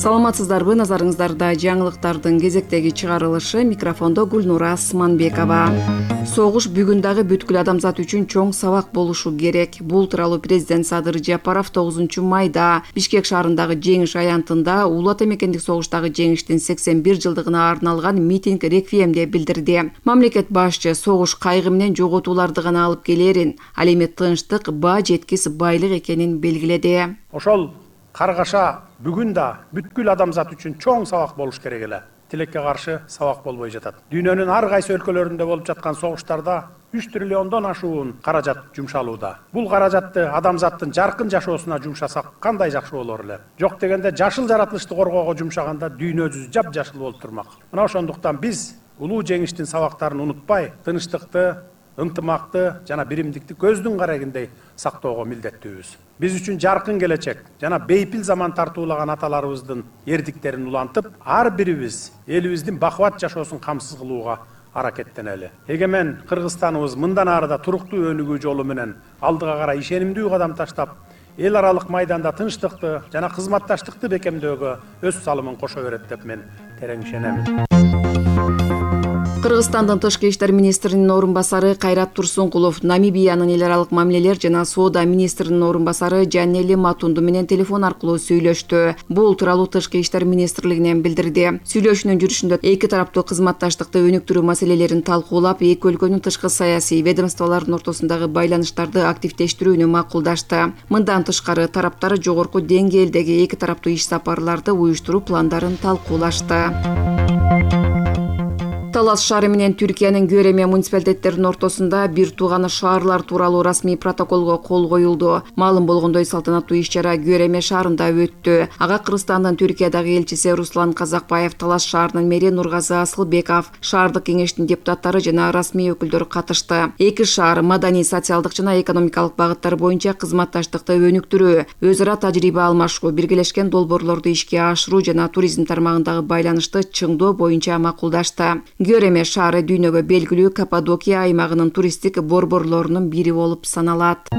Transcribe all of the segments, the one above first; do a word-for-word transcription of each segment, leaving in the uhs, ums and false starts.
Саламатсыздарбы, назарыңыздарда жаңылыктардын кезектеги чыгарылышы. Микрофондо Гүлнура Асманбекова. Согуш бүгүн дагы бүткүл адамзат үчүн чоң сабак болушу керек. Бул тууралуу президент Садыр Жапаров тогузунчу майда Бишкек шаарындагы жеңиш аянтында Улуу Ата Мекендик согуштагы жеңиштин сексен бир жылдыгына арналган митинг реквиемде билдирди. Мамлекет башчы согуш кайгы менен жоготууларды гана алып келерин, ал эми тынчтык ба жеткис байлык экенин белгиледи. Ошол каргаша бүгүн да бүткүл адамзат үчүн чоң сабак болуш керек эле. Тилекке каршы сабак болбой жатат. Дүйнөнүн ар кайсы өлкөлөрүндө болуп жаткан согуштарда үч триллиондон ашуун каражат жумшалууда. Бул каражатты адамзаттын жаркын жашоосуна жумшасак кандай жакшы болор эле. Жок дегенде жашыл жаратылышты коргоого жумшаганда дүйнө жүзү жап-жашыл болуп турмак. Мына ошондуктан биз улуу жеңиштин сабактарын унутпай, тынчтыкты, ынтымакты жана биримдикти көздүн карагындай сактоого милдеттүүбүз. Биз үчүн жаркын келечек жана бейпил заман тартуулаган аталарыбыздын эрдиктерин улантып, ар бирибиз элибиздин бакубат жашоосун камсыз кылууга аракеттенели. Эгемен Кыргызстаныбыз мындан ары да туруктуу өнүгүү жолу менен алдыга карай ишенимдүү кадам таштап, эл аралык майданда тынчтыкты жана кызматташтыкты бекемдөөгө өз салымын кошо берет деп мен терең ишенем. Кыргызстандын тышкы иштер министринин орун басары Кайрат Турсункулов Намибиянын эл аралык мамилелер жана соода министринин орун басары Жанели Матунду менен телефон аркылуу сүйлөштү. Бул тууралуу тышкы иштер министрлигинен билдирди. Сүйлөшүүнүн жүрүшүндө эки тараптуу кызматташтыкты өнүктүрүү маселелерин талкуулап, эки өлкөнүн тышкы саясий ведомстволордун ортосундагы байланыштарды активдештирүүнү макулдашты. Мындан тышкары тараптар жогорку деңгээлдеги эки тараптуу иш сапарларды уюштуруу пландарын талкуулашты. Талас шаары менен Түркиянын Göreме муниципалитеттеринин ортосунда бир тууганы шаарлар тууралуу расмий протоколго кол коюлду. Маалым болгондой, салтанаттуу иш-чара Göreме шаарында өттү. Ага Кыргызстандын Түркиядагы элчиси Руслан Казакбаев, Талас шаарынын мэри Нургазы Асылбеков, шаардык кеңештин депутаттары жана расмий өкүлдөр катышты. Эки шаар маданий, социалдык жана экономикалык багыттар боюнча кызматташтыкты өнүктүрүү, өз ара тажрыйба алмашуу, биргелешкен долбоорлорду ишке ашыруу жана туризм тармагындагы байланышты чыңдоо боюнча макулдашты. Göreме шаары дүйнөгө белгилүү Каппадокия аймагынын туристтик борборлорунун бири болуп саналат.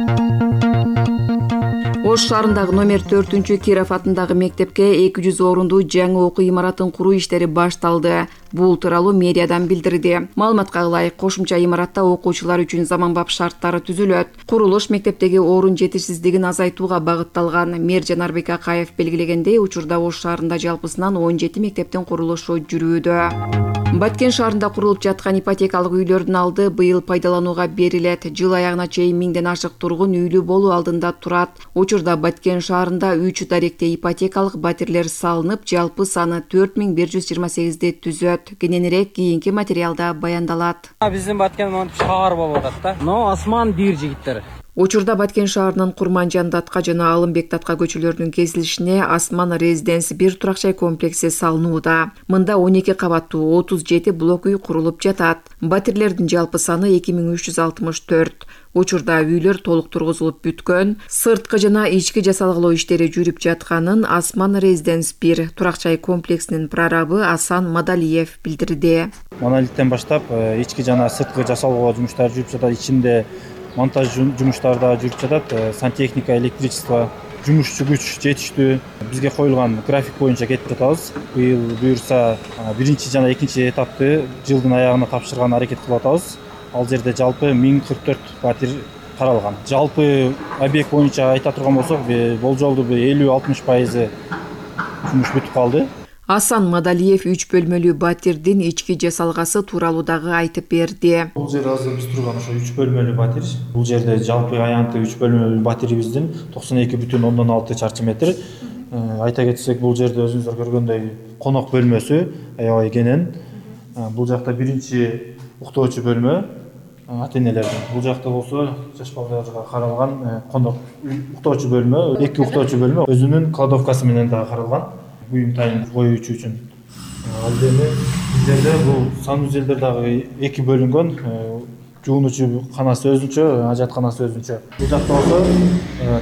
Ош шаарындагы номер төртүнчү Киров атындагы мектепке эки жүз орундуу жаңы окуу имаратын куруу иштери башталды. Бул тууралуу мэриядан билдирди. Маалыматка ылайык, кошумча имаратта окуучулар үчүн заманбап шарттары түзүлөт. Курулуш мектептеги орун жетишсиздигин азайтууга багытталган. Мэр Жанарбек Акаев белгилегендей, учурда Ош шаарында жалпысынан он жети мектептин курулушу жүрүүдө. Баткен шаарында курулуп жаткан ипотекалык үйлөрдүн алды быйыл пайдаланууга берилет. Жыл аягына чейин миңден ашык тургун үйлүү болуу алдында турат. Учурда Баткен шаарында үч даректе ипотекалык батирлер салынып, жалпы саны төрт миң бир жүз жыйырма сегизди түзөт. Кененирээк кийинки материалда баяндалат. Биздин Баткен монтип шаар болуп атат да. Но асман бир жигиттер. Учурда Баткен шаарынын Курманжан Датка жана Алымбек Датка көчөлөрүнүн кесилишине Асман Резиденс бир турак жай комплекси салынууда. Мында он эки кабаттуу отуз жети блок үй курулуп жатат. Батирлердин жалпы саны эки миң үч жүз алтымыш төрт. Учурда үйлөр толук тургузулуп бүткөн, сырткы жана ички жасалгылоо иштери жүрүп жатканын Асман Резиденс бир турак жай комплексинин прорабы Асан Мадалиев билдирди. Монолиттен баштап ички жана сырткы жасалгылоо жумуштары жүрүп жатат. Ичинде монтаж жумуштары да жүрүп жатат. Сантехника, электричество, жумушчу күч жетиштүү. Бизге коюлган график боюнча кетип жатабыз. Быйыл буюрса биринчи жана экинчи этапты жылдын аягына тапшырган аракет кылып атабыз. Ал жерде жалпы миң кырк төрт батир каралган. Жалпы объект боюнча айта турган болсок, болжолду элүү алтымыш пайызы жумуш бүтүп калды. Асан Мадалиев үч бөлмөлүү батирдин ички жасалгасы тууралуу дагы айтып берди. Бул жер азыр биз турган ошо үч бөлмөлүү батир. Бул жерде жалпы аянты үч бөлмөлүү батирибиздин токсон эки бүтүн ондон алты чарчы метр. Айта кетсек, бул жерде өзүңүздөр көргөндөй конок бөлмөсү аябай кенен. Бул жакта биринчи уктоочу бөлмө ата-энелердин. Бул жакта болсо жаш балдарга каралган конок уктоочу бөлмө, эки уктоочу бөлмө өзүнүн кладовкасы менен дагы каралган. Буюм тайын коюучу үчүн. Ал эми биздерде бул санузелдер дагы эки бөлүнгөн. Жуунуучу канасы өзүнчө, ажатканасы өзүнчө. Бул жакта болсо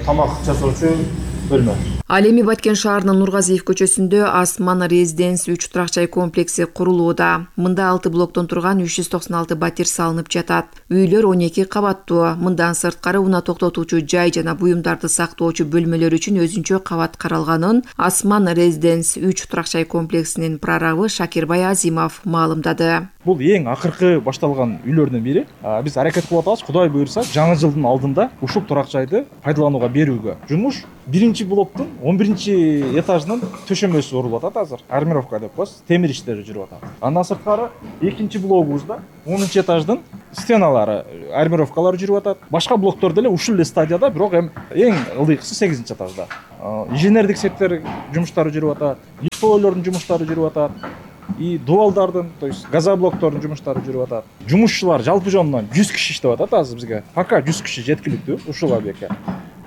тамак жасоочу бөлмө. Ал эми Баткен шаарынын Нургазиев көчөсүндө Асман Резиденс үч турак жай комплекси курулууда. Мында алты блоктон турган үч жүз токсон алты батир салынып жатат. Үйлөр он эки кабаттуу. Мындан сырткары унаа токтотуучу жай жана буюмдарды сактоочу бөлмөлөр үчүн өзүнчө кабат каралганын Асман Резиденс үч турак жай комплексинин прорабы Шакирбай Азимов маалымдады. Бул эң акыркы башталган үйлөрдүн бири. Биз аракет кылып атабыз, Кудай буйрса, жаңы жылдын алдында ушул турак жайды пайдаланууга берүүгө. Жумуш биринчи блоктун он биринчи этажынын төшөмөсү урулуп атат азыр. Армировка деп коебуз, темир иштери жүрүп атат. Андан сырткары экинчи блогубузда онунчу этаждын стеналары, армировкалары жүрүп атат. Башка блоктор деле ушул эле стадияда, бирок эң ылдыйкысы сегизинчи этажда. Инженердик сектор жумуштары жүрүп атат, лифтойлордун жумуштары жүрүп атат. И дуалдардын, то есть газоблоктордун жумуштары жүрүп атат. Жумушчулар жалпы жонунан жүз киши иштеп атат азыр бизге. Пока жүз киши жеткиликтүү ушул объектке.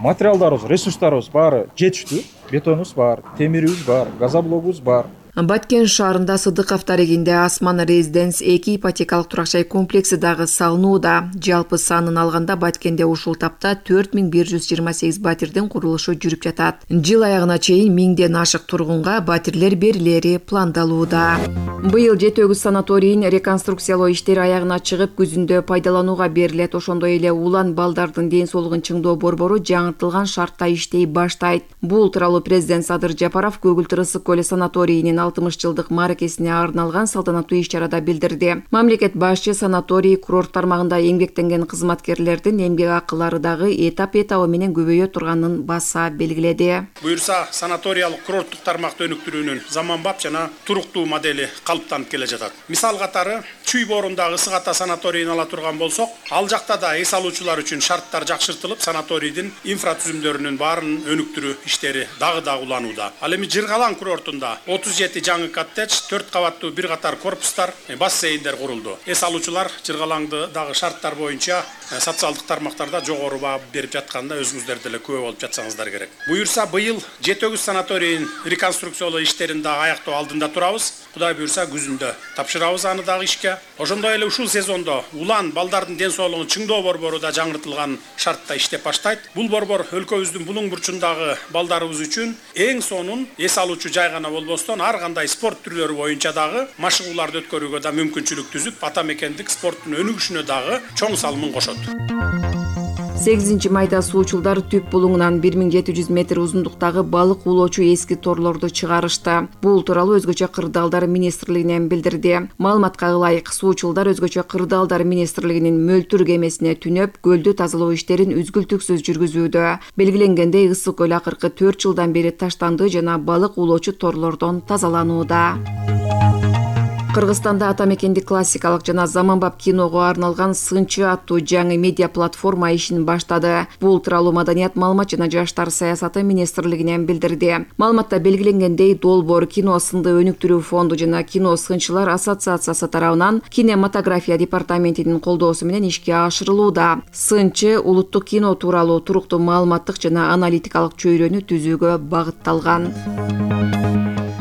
Материалдарыбыз, ресурстарыбыз баары жетиштүү. Бетонубуз бар, темирибиз бар, газоблогубуз бар. Баткен шаарында Сыдыков дарегинде Асман Резиденс эки ипотекалык турак жай комплекси дагы салынууда. Жалпы санын алганда Баткенде ушул тапта төрт миң бир жүз жыйырма сегиз батирдин курулушу жүрүп жатат. Жыл аягына чейин миңден ашык тургунга батирлер берилери пландалууда. Быйыл жети өгүз санаторийин реконструкциялоо иштери аягына чыгып, күзүндө пайдаланууга берилет. Ошондой эле улан балдардын ден соолугун чыңдоо борбору жаңыртылган шартта иштей баштайт. Бул тууралуу президент Садыр Жапаров Көгүлтүр ысык көлү санаторийинин алтымыш жылдык мааракесине арналган салтанаттуу иш-чарада билдирди. Мамлекет башчы санаторий курорт тармагында эмгектенген кызматкерлердин эмгек акылары дагы этап этабы менен көбөйө турганын баса белгиледи. Буюрса, санаториялык курорттук тармакты өнүктүрүүнүн заманбап жана туруктуу модели калыптанып келе жатат. Мисал катары Чүй боорундагы Ысык Ата санаторийин ала турган болсок, ал жакта да эс алуучулар үчүн шарттар жакшыртылып, санаторийдин инфратүзүмдөрүнүн баарын өнүктүрүү иштери дагы да уланууда. Ал эми Жыргалаң курортунда отуз жети жаңы коттедж, төрт кабаттуу бир катар корпустар, бассейндер курулду. Эс алуучулар Жыргалаңды дагы шарттар боюнча социалдык тармактарда жогору баа берип жатканда өзүңүздөр деле күбө болуп жатсаңыздар керек. Буюрса, быйыл жети өгүз санаторийин реконструкциялоо иштерин дагы аяктоо алдында турабыз. Кудай буюрса, күзүндө тапшырабыз аны дагы ишке. Ошондой эле ушул сезондо улан балдардын ден соолугун чыңдоо борбору да жаңыртылган шартта иштеп баштайт. Бул борбор өлкөбүздүн булуң бурчундагы балдарыбыз үчүн эң сонун эс алуучу жай гана болбостон, ар кандай спорт түрлөрү боюнча дагы машыгууларды өткөрүүгө да мүмкүнчүлүк түзүп, ата мекендик спорттун өнүгүшүнө дагы чоң салымын кошот. сегизинчи майда суучулдар түп булуңунан бир миң жети жүз метр узундуктагы балык уулоочу эски торлорду чыгарышты. Бул тууралуу Өзгөчө кырдаалдар министрлигинен билдирди. Маалыматка ылайык, суучулдар Өзгөчө кырдаалдар министрлигинин мөлтүр кемесине түнөп, көлдү тазалоо иштерин үзгүлтүксүз жүргүзүүдө. Белгиленгендей, ысык көл акыркы төрт жылдан бери таштанды жана балык уулоочу торлордон тазаланууда. Кыргызстанда ата мекендик классикалык жана заманбап киного арналган Сынчы аттуу жаңы медиа платформа ишин баштады. Бул тууралуу Маданият, маалымат жана жаштар саясаты министрлигинен билдирди. Маалыматта белгиленгендей, Долбоор кино сынды өнүктүрүү фонду жана кино сынчылар ассоциациясы тарабынан кинематография департаментинин колдоосу менен ишке ашырылууда. Сынчы улуттук кино тууралуу туруктуу маалыматтык жана аналитикалык чөйрөнү түзүүгө багытталган.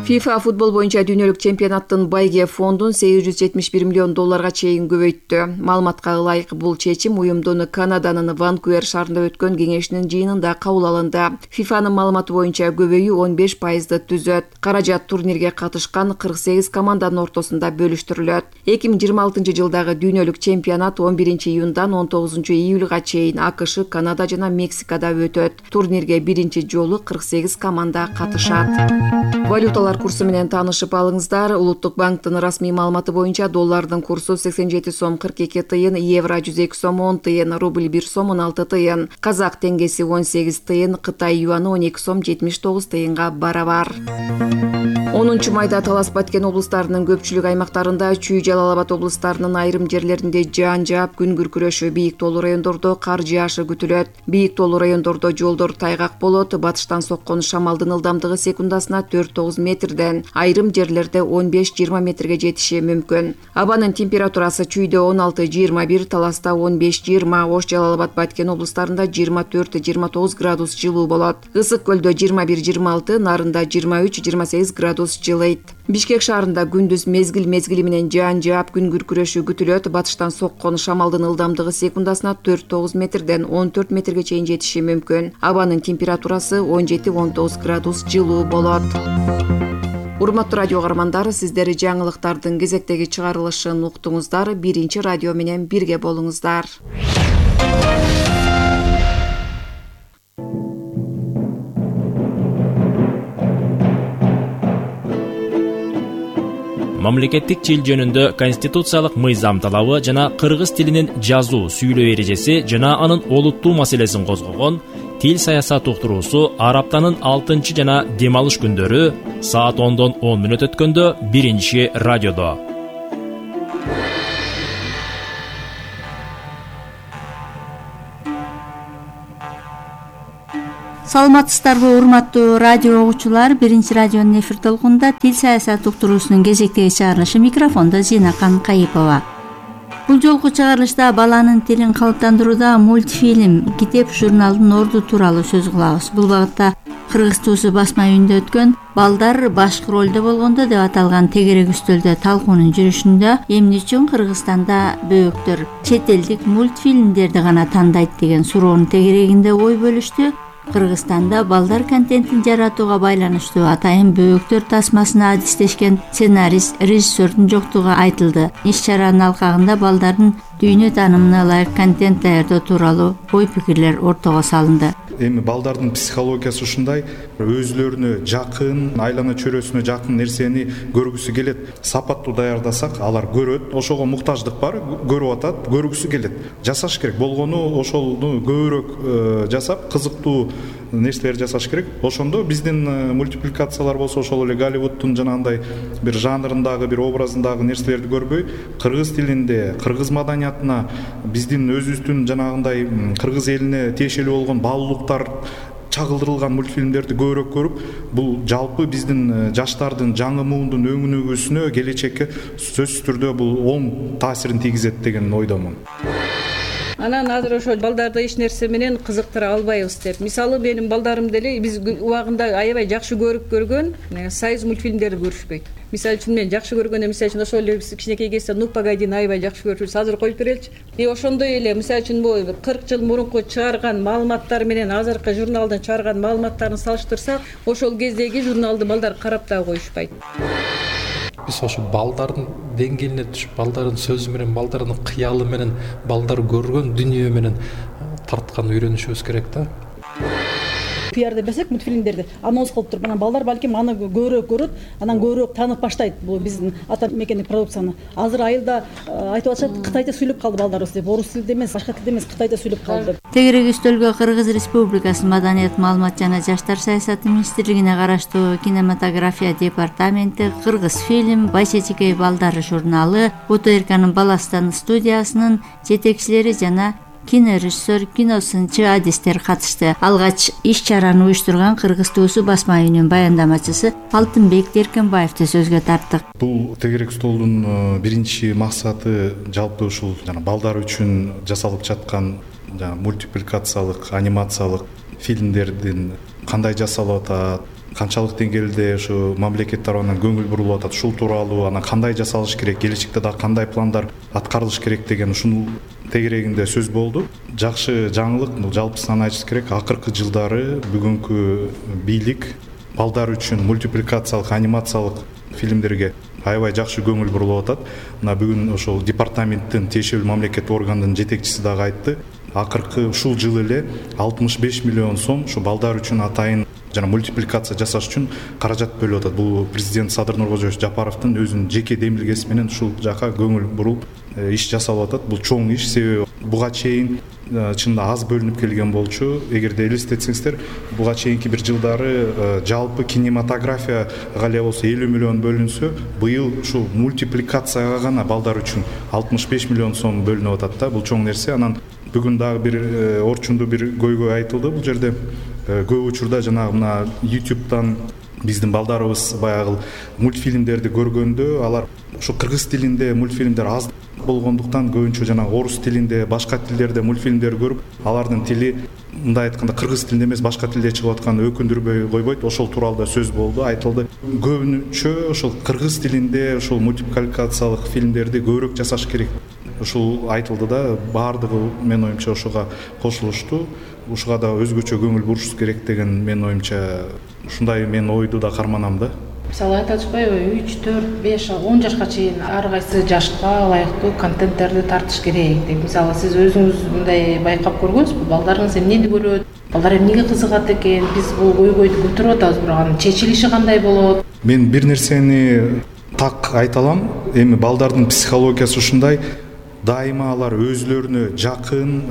FIFA футбол боюнча дүйнөлүк чемпионаттын байге фондун сегиз жүз жетимиш бир миллион долларга чейин көбөйттү. Маалыматка ылайык, бул чечим уюмдун Канаданын Ванкувер шаарында өткөн кеңешинин жыйынында кабыл алынды. фифанын маалыматы боюнча көбөйүү он беш пайызды түзөт. Каражат турнирге катышкан кырк сегиз команданын ортосунда бөлүштүрүлөт. эки миң жыйырма алтынчы жылдагы дүйнөлүк чемпионат он биринчи июндан он тогузунчу июлга чейин АКШ, Канада жана Мексикада өтөт. Турнирге биринчи жолу кырк сегиз команда катышат. Валюталар курсу менен таанышып алыңыздар. Улуттук банктын расмий маалыматы боюнча доллардын курсу сексен жети сом кырк эки тыйын, евро жүз эки сом он тыйын, рубль бир сом он алты тыйын, казак теңгеси он сегиз тыйын, Кытай юаны он эки сом жетимиш тогуз тыйынга барабар. онунчу майда Талас Баткен облустарынын көпчүлүк аймактарында, Чүй Жалал Абад облустарынын айрым жерлеринде жаан жаап, күн күркүрөшү, бийик тоолуу райондордо кар жаашы күтүлөт. Бийик тоолуу райондордо жолдор тайгак болот. Батыштан соккон шамалдын ылдамдыгы секундасына төрт тогуз метрден, айрым жерлерде он беш жыйырма метрге жетиши мүмкүн. Абанын температурасы Чүйдө он алты жыйырма бир, Таласта он беш жыйырма, Ош, Жалал Абад, Баткен облустарында жыйырма төрт жыйырма тогуз градус жылуу болот. Ысык көлдө жыйырма бир жыйырма алты, Нарында жыйырма үч жыйырма сегиз градус градус жылыйт. Бишкек шаарында күндүз мезгил мезгили менен жаан жаап күн күркүрөшү күтүлөт. Батыштан соккон шамалдын ылдамдыгы секундасына төрт тогуз метрден он төрт метрге чейин жетиши мүмкүн. Абанын температурасы он жети он тогуз градус жылуу болот. Урматтуу радио каармандар, сиздер жаңылыктардын кезектеги чыгарылышын уктуңуздар. Биринчи радио менен бирге болуңуздар. Мамлекеттик тил жөнүндө конституциялык мыйзам талабы жана кыргыз тилинин жазуу, сүйлөө эрежеси жана анын олуттуу маселесин козгогон Тил саясат уктуруусу ар аптанын алтынчы жана дем алыш күндөрү саат ондон он мүнөт өткөндө биринчи радиодо. Саламатсыздарбы, урматтуу радио угуучулар? Биринчи радионун эфир толкунунда тил саясат уктуруусунун кезектеги чыгарылышы, микрофондо Зинакан Кайыпова. Бул жолку чыгарылышта баланын тилин калыптандырууда мультфильм, китеп, журналдын орду тууралуу сөз кылабыз. Бул багытта Кыргыз туусу басма үйүндө өткөн балдар башкы ролдо болгондо деп аталган тегерек үстөлдө талкуунун жүрүшүндө эмне үчүн Кыргызстанда бөөктөр чет элдик мультфильмдерди гана тандайт деген суроонун тегерегинде ой бөлүштү. Кыргызстанда балдар контентин жаратууга байланыштуу атайын бөөктөр тасмасына адистешкен сценарист, режиссердун жоктугу айтылды. Иш-чаранын алкагында балдардын дүйнө таанымына ылайык контент даярдоо тууралуу ой-пикирлер ортого салынды. Эми балдардын психологиясы ушундай, өзүлөрүнө жакын, айлана чөйрөсүнө жакын нерсени көргүсү келет. Сапаттуу даярдасак, алар көрөт, ошого муктаждык бар, көрүп атат, көргүсү келет. Жасаш керек болгону ошону көбүрөөк жасап, кызыктуу нерселер жасаш керек. Ошондо биздин мультипликациялар болсо, ошол эле Голливудтун жанагындай бир жанрындагы, бир образындагы нерселерди көрбөй, кыргыз тилинде, кыргыз маданиятына, биздин өзүбүздүн жанагындай кыргыз элине тиешелүү болгон баалуулуктар чагылдырылган мультфильмдерди көбүрөөк көрүп, бул жалпы биздин жаштардын, жаңы муундун өңүнүгүүсүнө, келечекке сөзсүз түрдө бул оң таасирин тийгизет деген ойдомун. Анан азыр ошо балдарды эч нерсе менен кызыктыра албайбыз деп. Мисалы менин балдарым деле биз убагында аябай жакшы көрүп көргөн союз мультфильмдерди көрүшпөйт. Мисалы үчүн мен жакшы көргөндө, мисалы үчүн ошол эле кичинекей кезде Ну погодини аябай жакшы көрчүбүз. Азыр коюп береличи. И ошондой эле мисалы үчүн бул кырк жыл мурунку чыгарган маалыматтар менен азыркы журналдын чыгарган маалыматтарын салыштырсак, ошол кездеги журналды балдар карап да коюшпайт. Биз ошо балдардын деңгээлине түшүп, балдардын сөзү менен, балдардын кыялы менен, балдар көргөн дүнүйө менен тарткан үйрөнүшүбүз керек да. пиар деп берсек мультфильмдерди анонс кылып туруп, анан балдар балким аны көбүрөөк көрөт, анан көбүрөөк таанып баштайт бул биздин ата мекендик продукцияны. Азыр айылда айтып атышат, кытайча сүйлөп калды балдарыбыз деп, орус тилинде эмес, башка тилде эмес, кытайча сүйлөп калды деп. Тегерек үстөлгө Кыргыз Республикасынын Маданият, маалымат жана жаштар саясаты министрлигине караштуу кинематография департаменти, Кыргыз фильм, Байчечекей балдары журналы, ОТРКнын Баластан студиясынын жетекчилери жана кинорежиссер, киносынчы адистер катышты. Алгач иш-чараны уюштурган Кыргыз туусу басма үйүнүн баяндамачысы Алтынбек Деркенбаевди сөзгө тарттык. Бул тегерек столдун биринчи максаты жалпы ушул жана балдар үчүн жасалып жаткан жана мультипликациялык, анимациялык фильмдердин кандай жасалып атат, канчалык деңгээлде ушу мамлекет тарабынан көңүл бурулуп атат, ушул тууралуу, анан кандай жасалыш керек, келечекте дагы кандай пландар аткарылыш керек деген ушул тегерегинде сөз болду. Жакшы жаңылык, бул жалпысынан айтыш керек, акыркы жылдары бүгүнкү бийлик балдар үчүн мультипликациялык, анимациялык фильмдерге аябай жакшы көңүл бурулуп атат. Мына бүгүн ошол департаменттин тиешелүү мамлекеттик органдын жетекчиси дагы айтты. Акыркы ушул жылы эле алтымыш беш миллион сом ушу балдар үчүн атайын жана мультипликация жасаш үчүн каражат бөлүп атат. Бул президент Садыр Нуркожоевич Жапаровдун өзүнүн жеке демилгеси менен ушул жака көңүл бурулуп иш жасалып атат. Бул чоң иш, себеби буга чейин чынында аз бөлүнүп келген болчу. Эгерде элестетсеңиздер, буга чейинки бир жылдары жалпы кинематографияга эле болсо элүү миллион бөлүнсө, быйыл ушул мультипликацияга гана балдар үчүн алтымыш беш миллион сом бөлүнүп атат да. Бул чоң нерсе. Анан бүгүн дагы бир орчундуу бир көйгөй айтылды бул жерде. Көп учурда жанагы мына YouTube'дан биздин балдарыбыз баягы мультфильмдерди көргөндө алар ушу кыргыз тилинде мультфильмдер аз болгондуктан көбүнчө жана орус тилинде, башка тилдерде мультфильмдер көрүп, алардын тили мындай айтканда кыргыз тилинде эмес башка тилде чыгып атканы өкүндүрбөй койбойт. Ошол тууралуу да сөз болду, айтылды. Көбүнчө ошол кыргыз тилинде ушул мультипликациялык фильмдерди көбүрөөк жасаш керек. Ушул айтылды да, баардыгы менин оюмча ошого кошулушту. Ушуга да өзгөчө көңүл бурушубуз керек деген менин оюмча ушундай мен ойду да карманам да. Мисалы айтып атышпайбы, үч, төрт, беш, он жашка чейин ар кайсы жашка ылайыктуу контенттерди тартыш керек деп. Мисалы сиз өзүңүз мындай байкап көргөнсүзбү? Балдарыңыз эмнени көрөт? Балдар эмнеге кызыгат экен? Биз бул көйгөйдү көтөрүп атабыз, бирок анын чечилиши кандай болот? Мен бир нерсени так айта алам. Эми балдардын психологиясы ушундай. Дайыма алар өзлөрүнө жакын,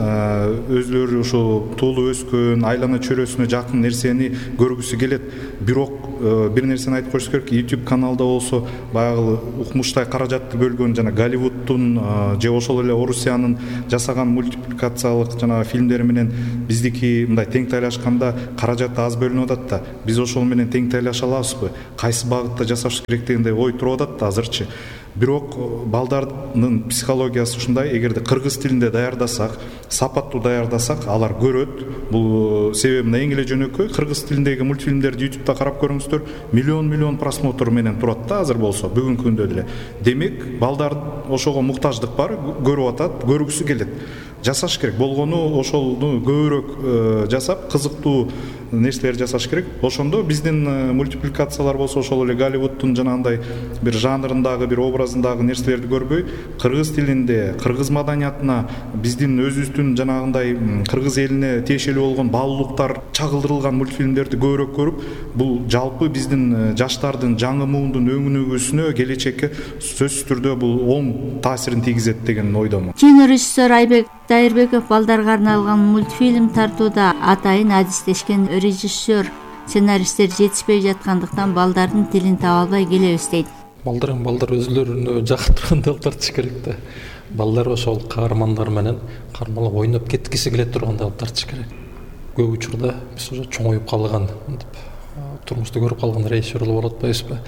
өзлөрү ошо туулуп өскөн, айлана чөйрөсүнө жакын нерсени көргүсү келет. Бирок бир нерсени айтып коюш керек, YouTube каналда болсо баягы укмуштай каражатты бөлгөн жана Голливудтун же ошол эле Орусиянын жасаган мультипликациялык жана фильмдери менен биздики мындай тең тайлашканда каражат аз бөлүнүп атат да. Биз ошол менен тең тайлаша алабызбы? Кайсы багытта жасаш керек дегендей ой туруп атат да азырчы. Бирок балдардын психологиясы ушундай, эгерде кыргыз тилинде даярдасак, сапаттуу даярдасак, алар көрөт. Бул себеби мына эң эле жөнөкөй, кыргыз тилиндеги мультфильмдерди YouTube'да карап көрүңүздөр, миллион-миллион просмотр менен турат да азыр болсо, бүгүнкү күндө деле. Демек, балдар ошого муктаждык бар, көрүп атат, көргүсү келет. Жасаш керек болгону ошону көбүрөөк жасап, кызыктуу нерселер жасаш керек. Ошондо биздин мультипликациялар болсо ошол эле Голливудтун жанагындай бир жанрындагы, бир образындагы нерселерди көрбөй, кыргыз тилинде, кыргыз маданиятына, биздин өзүбүздүн жанагындай кыргыз элине тиешелүү болгон баалуулуктар чагылдырылган мультфильмдерди көбүрөөк көрүп, бул жалпы биздин жаштардын, жаңы муундун өңүнүгүсүнө, келечекке сөзсүз түрдө бул оң таасирин тийгизет деген ойдомун. Кинорежиссер Айбек Дайырбеков балдарга арналган мультфильм тартууда атайын адистешкен режиссер, сценаристтер жетишпей жаткандыктан балдардын тилин таба албай келебиз дейт. Балдар балдар өзлөрүнө жактыргандай кылып тартыш керек да. Балдар ошол каармандар менен кармалап ойноп кеткиси келе тургандай кылып тартыш керек. Көп учурда биз уже чоңоюп калган, турмушта көрүп калган режиссерлор болот атпайбызбы?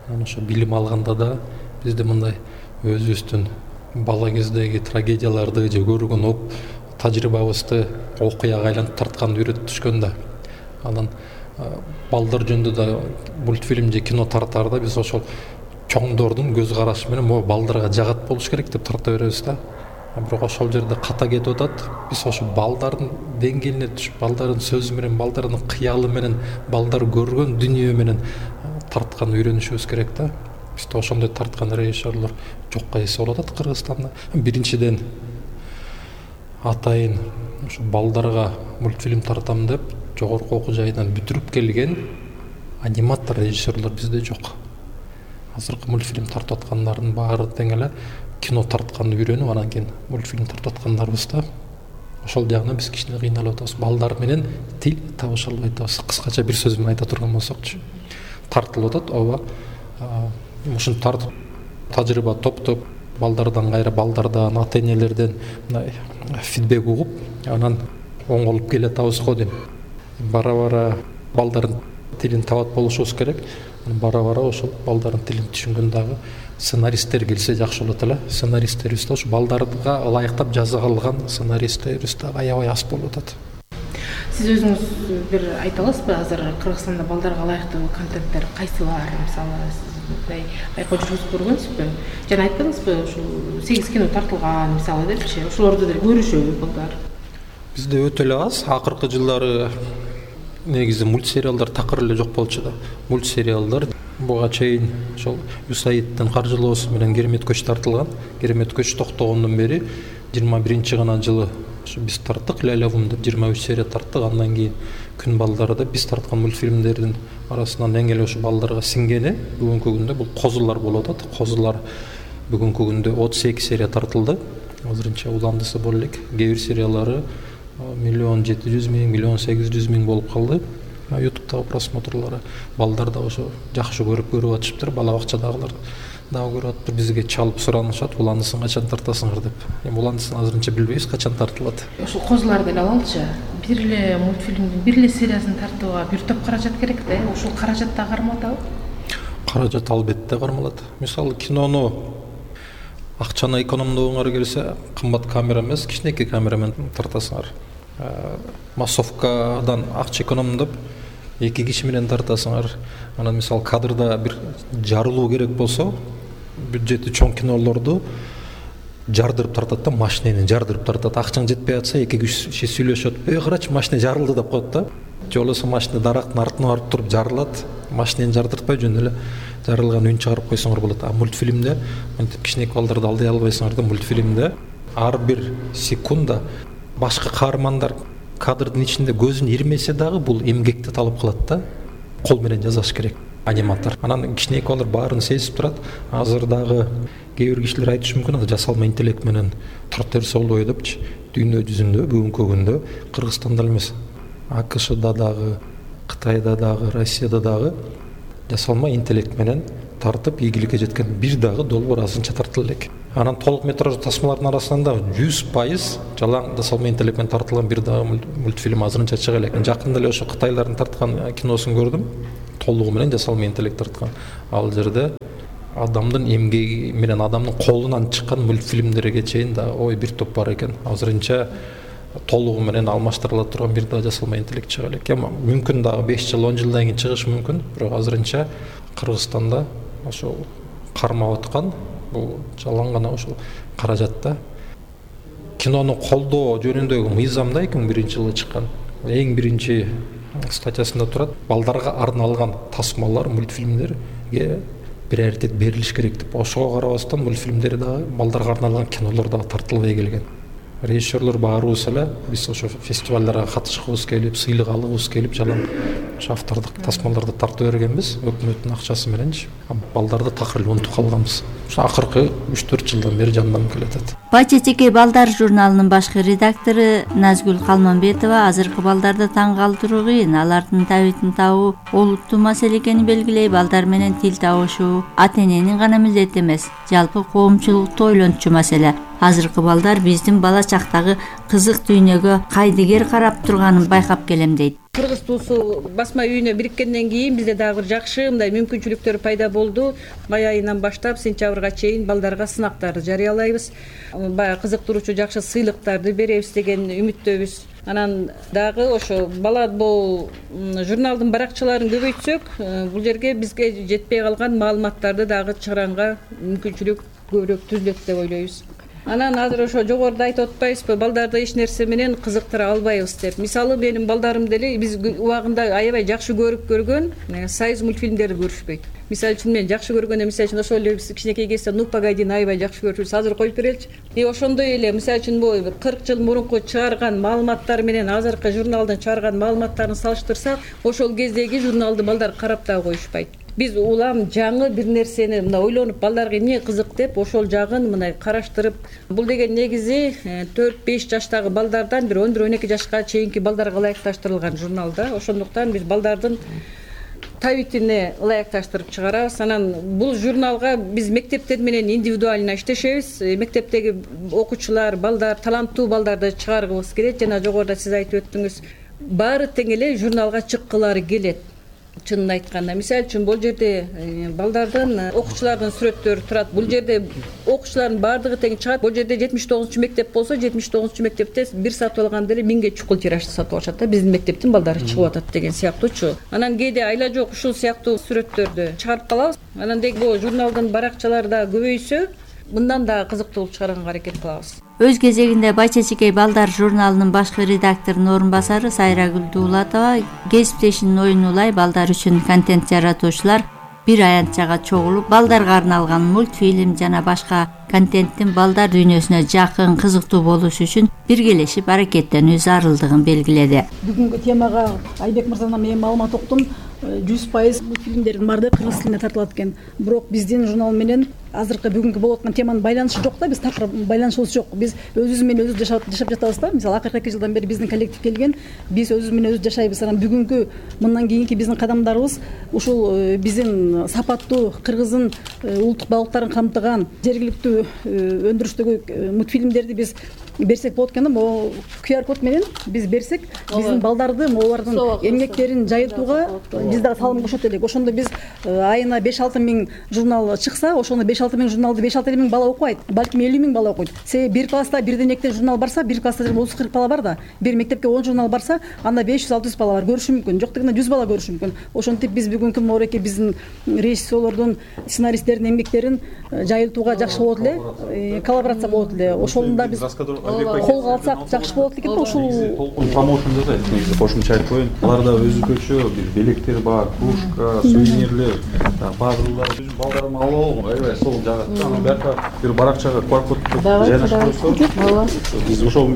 Анан ошо билим алганда да бизде мындай өзүбүздүн бала кездеги трагедияларды же көргөн оп тажрыйбабызды окуяга айлантып тартканды үйрөтүп түшкөн да. Анан балдар жөнүндө да мультфильм же кино тартаарда биз ошол чоңдордун көз карашы менен могу балдарга жагат болуш керек деп тарта беребиз да. Бирок ошол жерде ката кетип атат. Биз ошо балдардын деңгээлине түшүп, балдардын сөзү менен, балдардын кыялы менен, балдар көргөн дүнүйө менен тартканды үйрөнүшүбүз керек да. Бизде ошондой тарткан режиссерлор жокко эсе болуп атат Кыргызстанда. Биринчиден атайын ушу балдарга мультфильм тартам деп жогорку окуу жайынан бүтүрүп келген аниматор режиссерлор бизде жок. Азыркы мультфильм тартып аткандардын баары тең эле кино тартканды үйрөнүп, анан кийин мультфильм тартып аткандарбыз да. Ошол жагынан биз кичине кыйналып атабыз. Балдар менен тил табыша албай атабыз. Кыскача бир сөз менен айта турган болсокчу. Тартылып атат, ооба. Ушинтип тартып тажрыйба топтоп, балдардан кайра балдардан, ата энелерден мындай фидбек угуп, анан оңолуп келе атабыз го дейм. Бара-бара балдардын тилин табат болушубуз керек. Бара-бара ошол балдардын тилин түшүнгөн дагы сценаристтер келсе жакшы болот эле. Сценаристтерибиз да ушу балдарга ылайыктап жазылган сценаристтерибиз да аябай аз болуп атат. Сиз өзүңүз бир айта аласызбы, азыр Кыргызстанда балдарга ылайыктуу контенттер кайсылар? Мисалы, сиз мындай байкоо жүргүзүп көргөнсүзбү? Жана айттыңызбы, ушул сегиз кино тартылган, мисалы депчи, ошолорду деле көрүшөбү балдар? Бизде өтө эле аз. Акыркы жылдары негизи мультсериалдар такыр эле жок болчу да. Мультсериалдар буга чейин ошол Юсаиддин каржылоосу менен Керемет көч тартылган. Керемет көч токтогондон бери жыйырма биринчи гана жылы ошо биз тарттык, Лайлавун деп жыйырма үч серия тарттык. Андан кийин Күн балдары деп биз тарткан мультфильмдердин арасынан эң эле ошо балдарга сиңгени бүгүнкү күндө бул Козулар болуп атат. Козулар бүгүнкү күндө отуз эки серия тартылды. Азырынча уландысы бол элек. Кээ бир сериялары миллион жети жүз миң, миллион сегиз жүз миң болуп калды. ютубтагы просмотрлары. Балдар да ошо жакшы көрүп көрүп атышыптыр. Бала бакчадагылар дагы көрүп атыптыр. Бизге чалып суранышат, уландысын качан тартасыңар деп. Эми уландысын азырынча билбейбиз качан тартылат. Ошол козуларды эле алалычы. Бир эле мультфильмдин бир эле сериясын тартууга бир топ каражат керек да. Ошол каражат да кармалат. Каражат албетте кармалат. Мисалы кинону акчаны экономдогуңар келсе, кымбат камера эмес, кичинекей камера менен тартасыңар. Массовкадан акча экономдоп эки киши менен тартасыңар. Анан мисалы кадрда бир жарылуу керек болсо, бюджети чоң кинолорду жардырып тартат да, машинени жардырып тартат. Акчаң жетпей атса, эки киши сүйлөшөт. "Эй, карачы, машина жарылды" деп коет да. Же болбосо машина дарактын артына барып туруп жарылат. Машинени жардыртпай жөн эле жарылган үн чыгарып койсоңор болот. А мультфильмде мынтип кичинекей балдарды алдай албайсыңар да. Мультфильмде ар бир секунда башка каармандар кадрдын ичинде көзүн ирмесе дагы бул эмгекти талап кылат да. Кол менен жасаш керек аниматор. Анан кичинекей балдар баарын сезип турат. Азыр дагы кээ бир кишилер айтышы мүмкүн, анда жасалма интеллект менен тарта берсе болбойт депчи. Дүйнө жүзүндө бүгүнкү күндө Кыргызстанда эмес, АКШда дагы, Кытайда дагы, Россияда дагы жасалма интеллект менен тартып ийгиликке жеткен бир дагы долбоор азырынча тартыла элек. Анан толук метраждуу тасмалардын арасында жүз пайыз жалаң жасалма интеллект менен тартылган бир дагы мультфильм азырынча чыга элек. Жакында эле ошо Кытайлардын тарткан киносун көрдүм. Толугу менен жасалма интеллект тарткан. Ал жерде адамдын эмгеги менен адамдын колунан чыккан мультфильмдерге чейин да ой бир топ бар экен. Азырынча толугу менен алмаштырыла турган бир дагы жасалма интеллект чыга элек. Эми мүмкүн дагы беш жыл он жылдан кийин чыгышы мүмкүн, бирок азырынча Кыргызстанда ошол кармап аткан бул жалаң гана ошол каражатта кинону колдоо жөнүндөгү мыйзамда эки миң биринчи жылы чыккан эң биринчи статьясында турат, балдарга арналган тасмалар, мультфильмдерге приоритет берилиш керек деп. Ошого карабастан мультфильмдер дагы балдарга арналган кинолор дагы тартылбай келген. Режиссерлор баарыбыз эле биз ошо фестивалдарга катышкыбыз келип, сыйлык алгыбыз келип, жалаң ошо автордук тасмаларды тартып бергенбиз, өкмөттүн акчасы мененчи. Балдарды такыр эле унутуп калганбыз. Ошо акыркы үч төрт жылдан бери жанданып келатат. Бачечекей балдар журналынын башкы редактору Назгүл Калманбетова азыркы балдарды таң калтыруу кыйын, алардын табитин табуу олуттуу маселе экенин белгилей. Балдар менен тил табышуу ата эненин гана милдети эмес, жалпы коомчулукту ойлончу маселе. Азыркы балдар биздин бала чактагы кызык дүйнөгө кайдыгер карап турганын байкап келем дейт. Кыргыз туусу басма үйүнө бириккенден кийин бизде дагы бир жакшы мындай мүмкүнчүлүктөр пайда болду. Май айынан баштап сентябрга чейин балдарга сынактарды жарыялайбыз. Баягы кызыктыруучу жакшы сыйлыктарды беребиз деген үмүттөбүз. Анан дагы ошо бала бул журналдын баракчаларын көбөйтсөк, бул жерге бизге жетпей калган маалыматтарды дагы чыгаранга мүмкүнчүлүк көбүрөөк түзүлөт деп ойлойбуз. Анан азыр ошо жогоруда айтып атпайбызбы, балдарды эч нерсе менен кызыктыра албайбыз деп. Мисалы менин балдарым деле биз убагында аябай жакшы көрүп көргөн союз мультфильмдерди көрүшпөйт. Мисалы үчүн мен жакшы көргөндө, мисалы үчүн ошол эле кичинекей кезде Ну погоди аябай жакшы көрчүбүз. Азыр коюп береличи. И ошондой эле мисалы үчүн бул кырк жыл мурунку чыгарган маалыматтар менен азыркы журналдын чыгарган маалыматтарын салыштырсак, ошол кездеги журналды балдар карап да коюшпайт. Биз улам жаңы бир нерсени мына ойлонуп, балдарга эмне кызык деп ошол жагын мына караштырып, бул деген негизи төрт беш жаштагы балдардан бир он бир он эки жашка чейинки балдарга ылайыкташтырылган журнал да. Ошондуктан биз балдардын табитине ылайыкташтырып чыгарабыз. Анан бул журналга биз мектептер менен индивидуально иштешебиз. Мектептеги окуучулар, балдар, таланттуу балдарды чыгаргыбыз келет. Жана жогоруда сиз айтып өттүңүз, баары тең эле журналга чыккылары келет. Чынын айтканда, мисалы үчүн бул жерде балдардын, окуучулардын сүрөттөрү турат. Бул жерде окуучулардын баардыгы тең чыгат. Бул жерде жетимиш тогузунчу мектеп болсо, жетимиш тогузунчу мектепте бир сатып алганда эле миңге чукул тиражды сатып алышат да. Биздин мектептин балдары чыгып атат деген сыяктуучу. Анан кээде айла жок ушул сыяктуу сүрөттөрдү чыгарып калабыз. Анан деги бул журналдын баракчалары да көбөйсө, мындан да кызыктуу чыгарганга аракет кылабыз. Өз кезегинде Бачечекей балдар журналынын башкы редакторунун орун басары Сайрагүл Дуулатова кесиптешинин оюн улай балдар үчүн контент жаратуучулар бир аянтчага чогулуп, балдарга арналган мультфильм жана башка контенттин балдар дүйнөсүнө жакын, кызыктуу болушу үчүн биргелешип аракеттенүү зарылдыгын белгиледи. Бүгүнкү темага Айбек мырзадан мен маалымат уктум. жүз пайыз мультфильмдердин баардыгы кыргыз тилине тартылат экен. Бирок биздин журнал менен азыркы бүгүнкү болуп аткан теманын байланышы жок да, биз такыр байланышыбыз жок. Биз өзүбүз менен өзүбүз жашап жашап жатабыз да. Мисалы акыркы эки жылдан бери биздин коллектив келген, биз өзүбүз менен өзүбүз жашайбыз. Анан бүгүнкү мындан кийинки биздин кадамдарыбыз ушул биздин сапаттуу кыргыздын улуттук багыттарын камтыган жергиликтүү өндүрүштөгү мультфильмдерди биз берсек болот экен да. Могу ку ар код менен биз берсек, биздин балдарды олардын эмгектерин жайылтууга биз дагы салым кошот элек. Ошондо биз айына беш алты миң журнал чыкса, ошондо беш алты миң журналды беш алты миң бала окубайт, балким элүү миң бала окуйт. Себеби бир класста бирден экиден журнал барса, бир класста отуз кырк бала бар да. Бир мектепке он журнал барса, анда беш жүз алты жүз бала бар, көрүшү мүмкүн. Жок дегенде жүз бала көрүшү мүмкүн. Ошентип биз бүгүнкү мореке биздин режиссерлордун, сценаристтердин эмгектерин жайылтууга жакшы болот эле, коллаборация болот эле. Ошондо биз колго алсак жакшы болот экен да. Ушул толкун промоушн жасайт. Негизи кошумча айтып коеюн. Аларда өзгөчө бир белектер бар, кружка, сувенирлер, пазлдар. Биздин балдарым алып алган, аябай сол жагат. Анан бияка бир баракчага ку ар кодду жайгаштырып койсо, биз ошол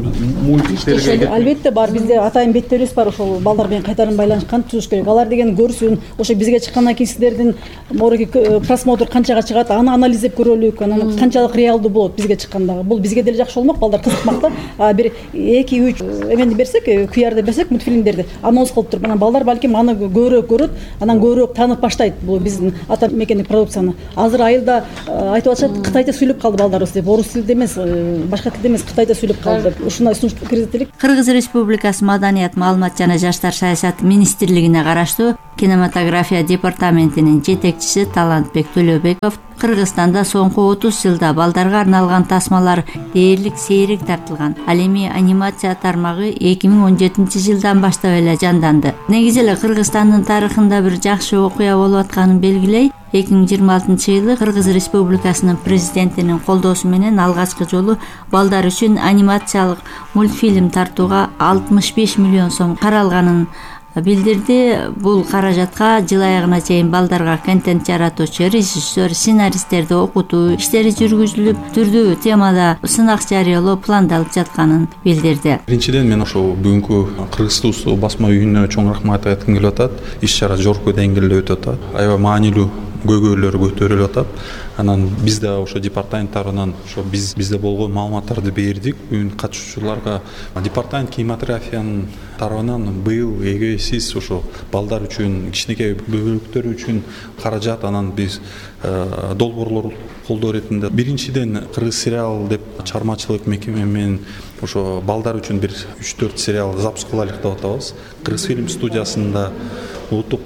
мультиктерге албетте бар. Бизде атайын беттерибиз бар, ошол балдар менен кайтарым байланышкан түзүш керек. Алар деген көрсүн, ошо бизге чыккандан кийин сиздердин мореке просмотр канчага чыгат, аны анализдеп көрөлүк. Анан канчалык реалдуу болот бизге чыкканда. Бул бизге деле жакшы болмок, балдар кызыкмак да. Бир эки үч эмени берсек, ку арды берсек, мультфильмдерди анонс кылып туруп, анан балдар балким аны көбүрөөк көрөт, анан көбүрөөк таанып баштайт бул биздин ата мекендик продукцияны. Азыр айылда айтып атышат, кытайча сүйлөп калды балдарыбыз деп. Орус тилде эмес, башка тилде эмес, кытайча сүйлөп калды деп. Ушундай сунуш киргизет элек. Кыргыз Республикасы Маданият, маалымат жана жаштар саясаты министрлигине караштуу кинематография департаментинин жетекчиси Талантбек Төлөбеков Кыргызстанда соңку отуз жылда балдарга арналган тасмалар дээрлик сейрек тартылган. Ал эми анимация тармагы эки миң он жетинчи жылдан баштап эле жанданды. Негизи эле Кыргызстандын тарыхында бир жакшы окуя болуп атканын белгилей, эки миң жыйырма алтынчы жылы Кыргыз Республикасынын президентинин колдоосу менен алгачкы жолу балдар үчүн анимациялык мультфильм тартууга алтымыш беш миллион сом каралганын билдирди. Бул каражатка жыл аягына чейин балдарга контент жаратуучу, режиссер, сценаристтерди окутуу иштери жүргүзүлүп, түрдүү темада сынак жарыялоо пландалып жатканын билдирди. Биринчиден мен ошо бүгүнкү Кыргыз Тусу басма үйүнө чоң рахмат айткым келип атат. Иш-чара жогорку деңгээлде өтүп атат. Аябай маанилүү көйгөйлөр көтөрүлүп атат. Анан биз да ошо департамент тарабынан ошо биз бизде болгон маалыматтарды бердик. Бүгүн катышуучуларга департамент кинематографиянын тарабынан быйыл эге сиз ошо балдар үчүн, кичинекей бөбөлүктөр үчүн каражат, анан биз долбоорлор колдоо иретинде биринчиден Кыргыз сериал деп чыгармачылык мекеме менен ошо балдар үчүн бир үч төрт сериал запуск кылайлык деп атабыз. Кыргыз фильм студиясында, улуттук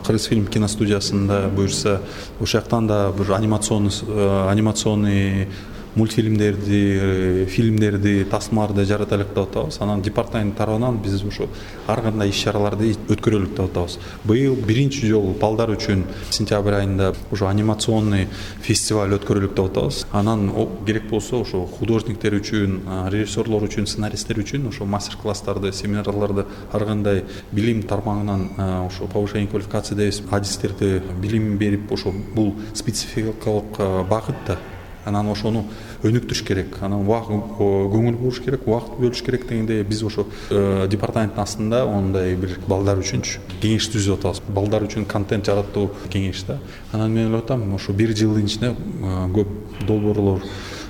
Кыргыз фильм киностудиясында буюрса, ошол жактан да бир анимационный анимационный мультфильмдерди, фильмдерди, тасмаларды жаратайлык деп атабыз. Анан департамент тарабынан биз ошо ар кандай иш-чараларды өткөрөлүк деп атабыз. Быйыл биринчи жолу балдар үчүн сентябрь айында ошо анимационный фестиваль өткөрөлүк деп атабыз. Анан керек болсо ошо художниктер үчүн, режиссерлор үчүн, сценаристтер үчүн ошо мастер-класстарды, семинарларды ар кандай билим тармагынан ошо повышение квалификации дейбиз, адистерди билим берип, ошо бул спецификалык багыт да. Анан ошону өнүктүрүш керек, анан көңүл буруш керек, убакыт бөлүш керек дегенде биз ошо департаменттин астында ондай бир балдар үчүн кеңеш түзүп атабыз. Балдар үчүн контент жаратуу кеңеш да. Анан мен ойлоп атам, ошо бир жылдын ичинде көп долбоорлор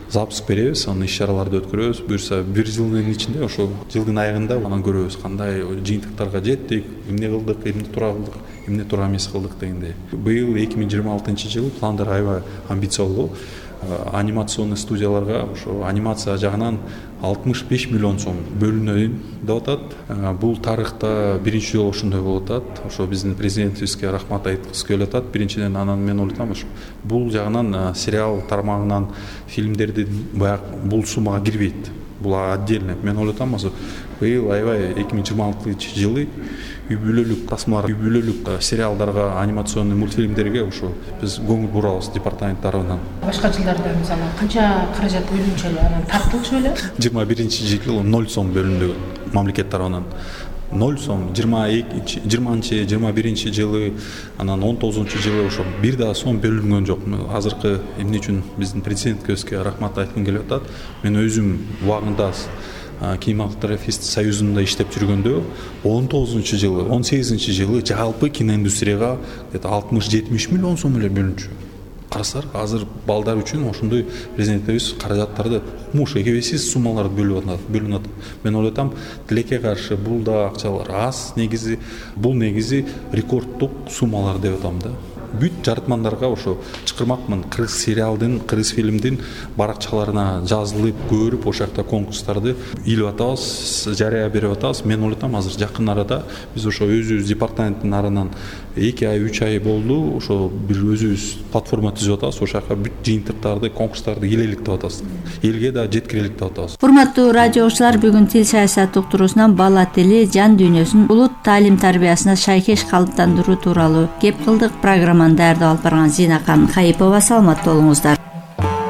запуск беребиз, анан иш-чараларды өткөрөбүз. Буюрса бир жылдын ичинде ошо жылдын аягында анан көрөбүз кандай жыйынтыктарга жеттик, эмне кылдык, эмне туура кылдык, эмне туура эмес кылдык дегенде. Быйыл эки миң жыйырма алтынчы жыл пландар аябай амбициялуу. Анимационный студияларга ошо анимация жагынан алтымыш беш миллион сом бөлүнөйүн деп атат. Бул тарыхта биринчи жолу ошондой болуп атат. Ошо биздин президентибизге рахмат айткыбыз келип атат. Биринчиден анан мен ойлойм, ошо бул жагынан сериал тармагынан фильмдерди баягы бул суммага кирбейт. Бул отдельно. Мен ойлойм, ошо быйыл аябай эки миң жыйырма алтынчы жылы үй бүлөлүк тасмалар, үй бүлөлүк сериалдарга, анимационный мультфильмдерге ошо биз көңүл бурабыз департамент тарабынан. Башка жылдарда мисалы канча каражат бөлүнчү эле, анан тартылчу эле? жыйырма биринчи жылы ноль сом бөлүндү мамлекет тарабынан. ноль сом, жыйырма экинчи, жыйырманчы, жыйырма биринчи жылы, анан он тогузунчу жылы ошо бир да сом бөлүнгөн жок. Азыркы эмне үчүн биздин президентибизге рахмат айткым келип атат. Мен өзүм убагында кинематографист союзунда иштеп жүргөндө он тогузунчу жылы он сегизинчи жылы жалпы киноиндустрияга где то алтымыш жетимиш миллион сом эле бөлүнчү. Карасаңар, азыр балдар үчүн ошондой президентибиз каражаттарды муш эбесиз суммаларды бөлүп атат, бөлүнүп атат. Мен ойлойт атам, тилекке каршы бул да акчалар аз, негизи бул негизи рекорддук суммалар деп атам да. Бүт жаратмандарга ошо чакырмакмын, кыргыз сериалдын, кыргыз фильмдин баракчаларына жазылып, көрүп, ошол жакта конкурстарды илип атабыз, жарыя берип атабыз. Мен ойлойт атам, азыр жакын арада биз ошо өзүбүз департаменттин арынан эки ай, үч ай болду, ошо бир өзүбүз платформа түзүп атабыз, ошол жака бүт жыйынтыктарды, конкурстарды келелик деп атабыз. Элге да жеткирелик деп атабыз. Урматтуу радио окуучулар, бүгүн тил саясат уктуруусунан бала тили, жан дүйнөсүн улут таалим тарбиясына шайкеш калыптандыруу тууралуу кеп кылдык. Программаны даярдап алып барган Зинакан Кайыпова. Саламатта болуңуздар.